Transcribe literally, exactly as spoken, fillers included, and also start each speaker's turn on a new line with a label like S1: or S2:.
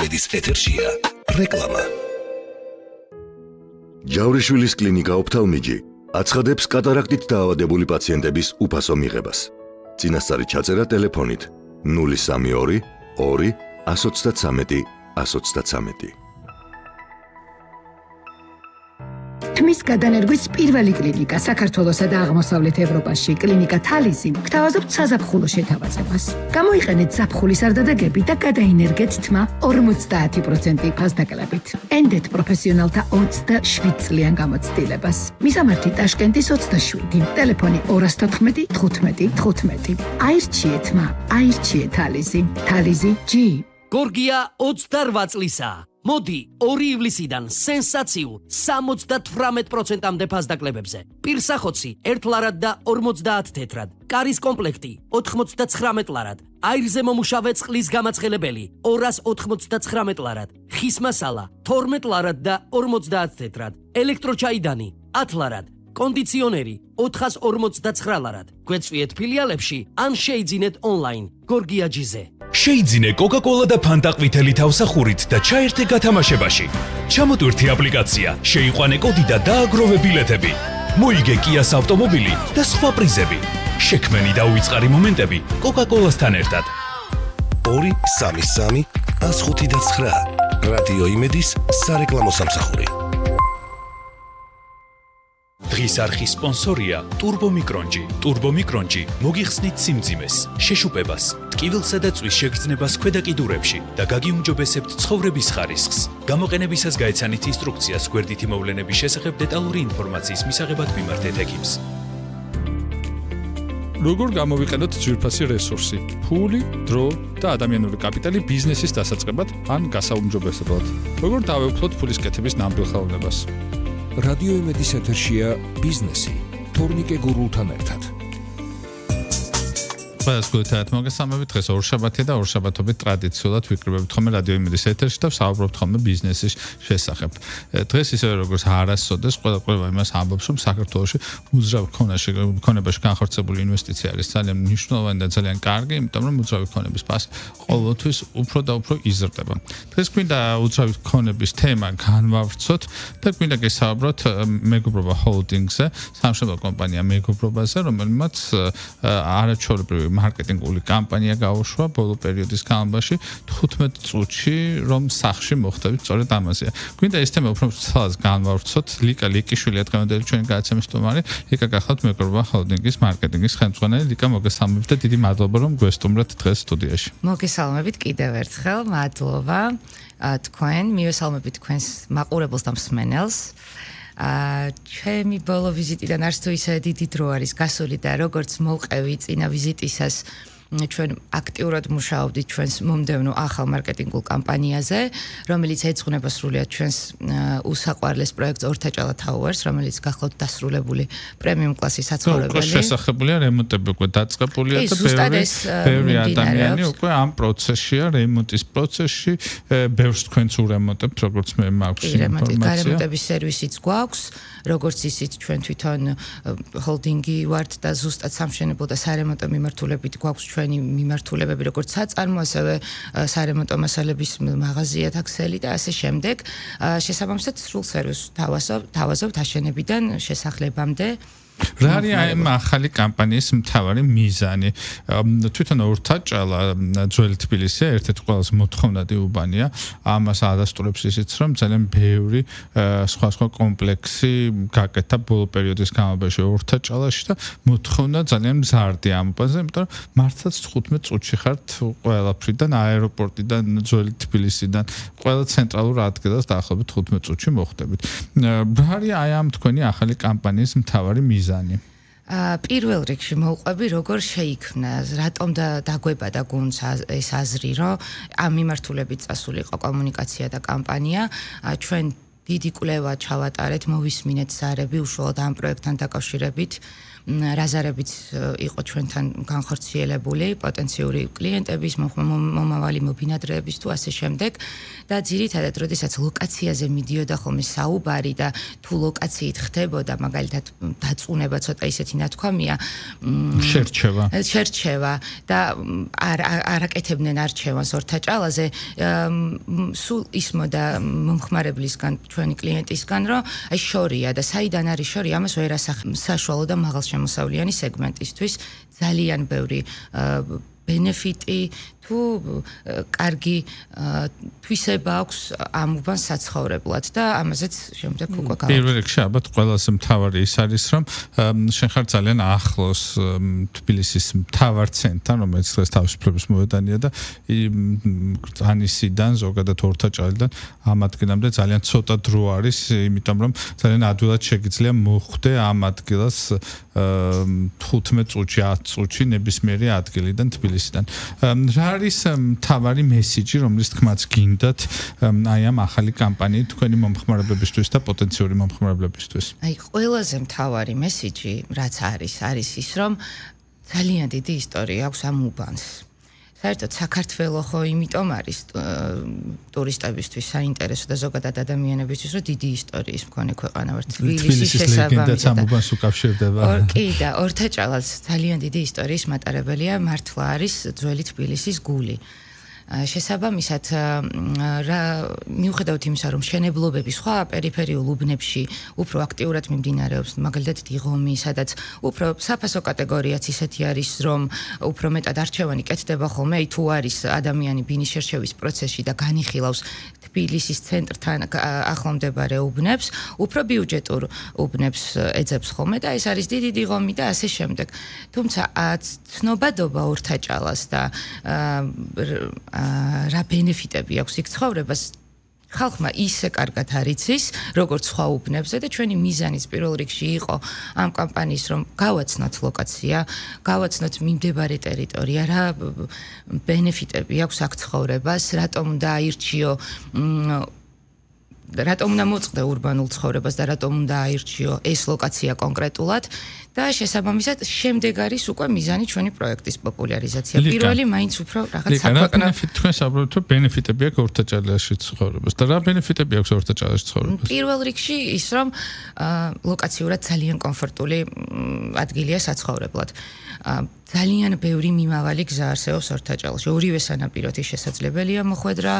S1: იმედის ეთერშია რეკლამა.
S2: ჯავრიშვილის კლინიკა ოფთალმიჯი აცხადებს კატარაქტით დაავადებული პაციენტების უფასო მიღებას. წინასწარი ჩაწერა ტელეფონით ნული სამი ორი ორი εκατს ოცდათვრამეტი εκατს ოცდათვრამეტი.
S3: თმის გადანერგვის პირველი კლინიკა საქართველოსა და აღმოსავლეთ ევროპაში, კლინიკა თალიზი, გთავაზობთ საზაფხულო შეთავაზებას. გამოიყენეთ ზაფხულის არდადეგები და გადაინერგეთ თმა ორმოცდაათი პროცენტი ფასდაკლებით. ენდეთ პროფესიონალთა ოცდაშვიდ წლიან გამოცდილებას. მისამართი ტაშკენტის ოცდაშვიდი, ტელეფონი ორას თოთხმეტი თხუთმეტი თხუთმეტი. აირჩიე თმა, აირჩიე თალიზი. თალიზი ჯი.
S4: გორგია ოცდარვა წლისა. მოდი ორი ივლისიდან სენსაციულ სამოცდათვრამეტ პროცენტამდე ფასდაკლებებზე. პირსახოცი ერთ ლარად და ორმოცდაათ თეთრად. კარის კომპლექტი ოთხმოცდაცხრამეტ ლარად. აირზე მომუშავე წყლის გამაცხელებელი ორას ოთხმოცდაცხრამეტ ლარად. ხის მასალა თორმეტ ლარად და ორმოცდაათ თეთრად. ელექტროჩაიდანი ათ ლარად. კონდიციონერი ოთხას ორმოცდაცხრა ლარად. გვეწვიეთ ფილიალებში ან შეიძინეთ ონლაინ გორგია ჯიზე.
S5: შეიძინე კოკა-კოლა და ფანტა ყვითელი თავსახურით და ჩაერთე გათამაშებაში. ჩამოტვირთი აპლიკაცია, შეიყვანე კოდი და დააგროვე ბილეთები. მოიგე კიას ავტომობილი და სხვა პრიზები. შექმენი და უიწყარი მომენტები კოკა-კოლასთან ერთად.
S1: ორი სამი სამი ას ხუთი და ცხრა. რადიო იმედის სარეკლამო სამსახური.
S5: დღის არხის სპონსორია ტურბომიკრონჯი. ტურბომიკრონჯი მოგიხსნით სიმძიმეს, შეშუპებას, ტკივილსა და წვის შეგრძნებას ქვედა კიდურებში და გაგიუმჯობესებთ ცხოვრების ხარისხს. გამოყენებისას გაეცანით ინსტრუქციას გვერდითი მოვლენების შესახებ დეტალური ინფორმაციის მისაღებად მიმართეთ ექიმს.
S6: როგორ გამოვიყენოთ ძვირფასი რესურსი, ფული, დრო და ადამიანური კაპიტალი ბიზნესის დასაწყებად ან გასაუმჯობესებლად. როგორ დავეუფლოთ ფულის კეთების ნამდვილ ხელოვნებას.
S1: რადიო იმედის ეთერშია ბიზნესი თორნიკე გურულთან ერთად.
S7: ყველას გულით მოგესალმებით. დღეს ორშაბათია და ორშაბათობით ტრადიციულად ვიკრიბებით ხოლმე რადიო იმედის ეთერში და ვსაუბრობთ ხოლმე ბიზნესის შესახებ. დღეს ისევე როგორც არასოდეს ყველა ყველა იმას ამბობს, რომ საქართველოში უძრავ ქონებაში განხორციელებული ინვესტიცია არის ძალიან მნიშვნელოვანი და ძალიან კარგი, იმიტომ რომ უძრავი ქონების ფასი ყოველთვის უფრო და უფრო იზრდება. დღეს გვინდა უძრავი ქონების თემა განვავრცოთ და გვინდა გესაუბროთ მეგობრობა ჰოლდინგზე, სამშობლო კომპანია მეგობრობაზე, რომელმაც არაჩვეულებრივი მარკეტინგული კამპანია გაუშვა ბოლო პერიოდის განმავლობაში თხუთმეტ წუთში, რომ სახში მოხდებით სწორედ ამაზეა. გვინდა ეს თემა უფრო ცალს განვავრცოთ. ლიკა ლიკიშვილია დღევანდელი ჩვენი გადაცემის სტუმარი. ლიკა გახლავთ მეგობრობა ჰოლდინგის მარკეტინგის ხელმძღვანელი. ლიკა მოგესალმებით და დიდი მადლობა რომ გვესტუმრეთ დღეს სტუდიაში.
S8: მოგესალმებით კიდევ ერთხელ, მადლობა თქვენ, მივესალმებით თქვენს მაყურებელს და მსმენელს. აა ჩემი ბოლო ვიზიტიდან არც თუ ისე დიდი დრო არის გასული და როგორც მოვყევი წინა ვიზიტისას ჩვენ აქტიურად მუშაობდით ჩვენს მომდევნო ახალ მარკეტინგულ კამპანიაზე, რომელიც ეძღვნება სრულიად ჩვენს უსაყვარლეს პროექტს ორთაჭალა Towers, რომელიც გახლავთ დასრულებული პრემიუმ კლასის საცხოვრებელი.
S7: უკვე შესაძლებელია რემონტები უკვე დაწყებულია და ბევრი ბევრი ადამიანი უკვე ამ პროცესშია, რემონტის პროცესში, ბევრს თქვენც ურემონტებთ, როგორც მე მაქვს ინფორმაცია.
S8: გარემონტების სერვისიც გვაქვს, როგორც ისიც ჩვენ თვითონ ჰოლდინგი ვართ და ზუსტად სამშენებლო და სარემონტო მიმართულებით გვაქვს ჩვენი მიმართულებები, როგორც საწარმო, ასევე სარემონტო მასალების მაღაზია თაქსელი და ასე შემდეგ. შესაბამისად სრულ სერვისს თავაზობთ აშენებიდან შესახლებამდე.
S7: რა არის აი ამ ახალი კამპანიის მთავარი მიზანი? თვითონ ორთაჭალა ძველი თბილისია, ერთ-ერთი ყველაზე მოთხოვნადი უბანია. ამას ადასტურებს ისიც, რომ ძალიან ბევრი სხვა სხვა კომპლექსი გაკეთა ბოლო პერიოდის განმავლობაში ორთაჭალაში და მოთხოვნა ძალიან მზარდია ამ უბანზე, იმიტომ რომ მართლაც თხუთმეტ წუთში ხართ ყველაფრიდან, აეროპორტიდან, ძველი თბილისიდან, ყველა ცენტრალურ ადგილას დაახლოებით თხუთმეტ წუთში მოხვდებით. რა არის აი ამ თქვენი ახალი კამპანიის მთავარი მიზანი?
S8: პირველ რიგში მოვყვები როგორ შეიქმნა, რატომ დაგვებადა გუნდს ეს აზრი, რომ ამ მიმართულებით წასულიყო კომუნიკაცია და კამპანია. ჩვენ დიდი კვლევა ჩავატარეთ, მოვისმინეთ ზარები უშუალოდ ამ პროექტთან დაკავშირებით. რაზარებიც იყო ჩვენთან განხორციელებული პოტენციური კლიენტების, მომავალი მობინადრეების თუ ასე შემდეგ და ძირითადად როდესაც ლოკაციაზე მიდიოდა ხოლმე საუბარი და თუ ლოკაციით ხდებოდა მაგალითად დაწუნება ცოტა ისეთი ნათქვამია
S7: შერჩევა
S8: შერჩევა და არ არაკეთებდნენ არჩევანს ორთაჭალაზე სულ ისმოდა მომხმარებლისგან ჩვენი კლიენტისგან რომ აი შორია და საიდან არის შორი ამას ვერ ასახავს საშუალო და მაღალშემოსავლიანი სეგმენტისთვის ძალიან ბევრი ბენეფიტი თუ კარგი თვისება აქვს ამ უბანს საცხოვრებლად და ამაზეც შემდეგ უკვე გავაკეთე.
S7: პირველ რიგში ალბათ ყველაზე მთავარი ის არის რომ შენ ხარ ძალიან ახლოს თბილისის მთავარ ცენტრთან, რომელიც დღეს თავისუფლების მოედანია და ანისიდან ზოგადად ორთაჭალიდან ამ ადგილამდე ძალიან ცოტა დრო არის, იმიტომ რომ ძალიან ადვილად შეგიძლია მოხვდე ამ ადგილას ხუთმეტ წუთში, ათ წუთში ნებისმიერი ადგილიდან თბილისიდან. რა არის მთავარი მესიჯი, რომლის თქმაც გინდათ აი ამ ახალი კამპანიით თქვენი მომხმარებლებისთვის და პოტენციური მომხმარებლებისთვის?
S8: აი ყველაზე მთავარი მესიჯი, რაც არის, არის ის, რომ ძალიან დიდი ისტორია აქვს ამ უბანს. საერთოდ საქართველოს ხო იმიტომ არის ტურისტებისთვის საინტერესო და ზოგადად ადამიანებისთვის, რომ დიდი ისტორიის მქონე ქვეყანა ვართ.
S7: თბილისის ლეგენდაც ამ უბანს უკავშირდება.
S8: კი და ორთაჭალაც ძალიან დიდი ისტორიის მატარებელია, მართლა არის ძველი თბილისის გული. შესაბამისად რა მიუხედავად იმისა რომ მშენებლობები სხვა პერიფერიულ უბნებში უფრო აქტიურად მიმდინარეობს მაგალითად დიღომი სადაც უფრო საფასო კატეგორიაც ისეთი არის რომ უფრო მეტად არჩევანი კეთდება ხოლმე აი თუ არის ადამიანი ბინის შერჩევის პროცესში და განიხილავს თბილისის ცენტრთან ახლომდებარე უბნებს უფრო ბიუჯეტურ უბნებს ეძებს ხოლმე და ეს არის დიდი დიღომი და ასე შემდეგ თუმცა ცნობადობა ორთაჭალას და რა ბენეფიტები აქვს იქ ცხოვრებას ხალხმა ისე კარგად არიცის როგორც სხვა უბნებზე და ჩვენი მიზანიც პირველ რიგში იყო ამ კამპანიის რომ გავაცნოთ ლოკაცია, გავაცნოთ მიმდებარე ტერიტორია, რა ბენეფიტები აქვს აქ ცხოვრებას, რატომ უნდა აირჩიო რატომ უნდა მოწყდე ურბანულ ცხოვრებას და რატომ უნდა აირჩიო ეს ლოკაცია კონკრეტულად და შესაბამისად შემდეგ არის უკვე მიზანი ჩვენი პროექტის პოპულარიზაცია. პირველი მაინც უფრო რაღაც საქვეყნო
S7: თქვენ საუბრობთ რომ ბენეფიტები აქვს ორთაჭალაში ცხოვრებას და რა ბენეფიტები აქვს ორთაჭალაში ცხოვრებას?
S8: პირველ რიგში ის რომ ლოკაციურად ძალიან კომფორტული ადგილია საცხოვრებლად. ძალიან ბევრი მიმავალი გზა არსებობს ორთაჭალში. ორივე სანაპიროთი შესაძლებელია მოხვედრა